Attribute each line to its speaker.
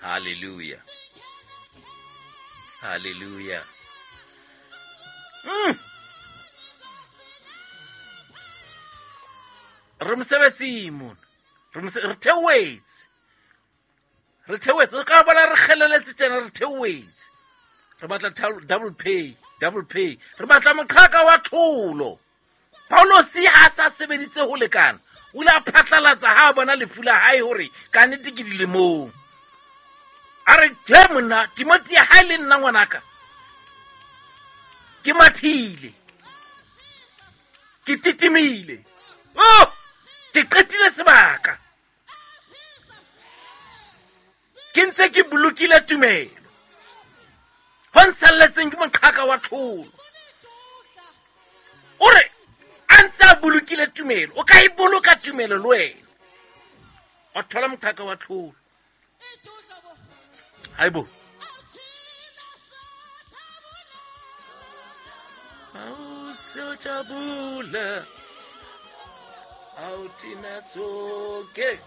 Speaker 1: Hallelujah, hallelujah. Re mosebetsing mona, re theohetse, re theohetse. O ka bona re kgeleletse tjena, re theohetse. Re batla double pay, double pay. Re batla moqhaka wa tlholo. Paulosi ha a sa sebeditse ho lekana, o ile a phatlalatsa ha a bona lefu la hae hore ka nnete ke dilemong. A re, he monna, Timothy, ha e le nna ngwanaka, ke mathile, ke titimile, oh, ke qetile sebaka, ke ntse ke bolokile tumelo. Ho nsalletseng ke moqhaka wa tlholo. O re a ntse a bolokile tumelo, o ka e boloka tumelo le wena, wa thola moqhaka wa tlholo. Haibo, awusojabula awuthina sonke.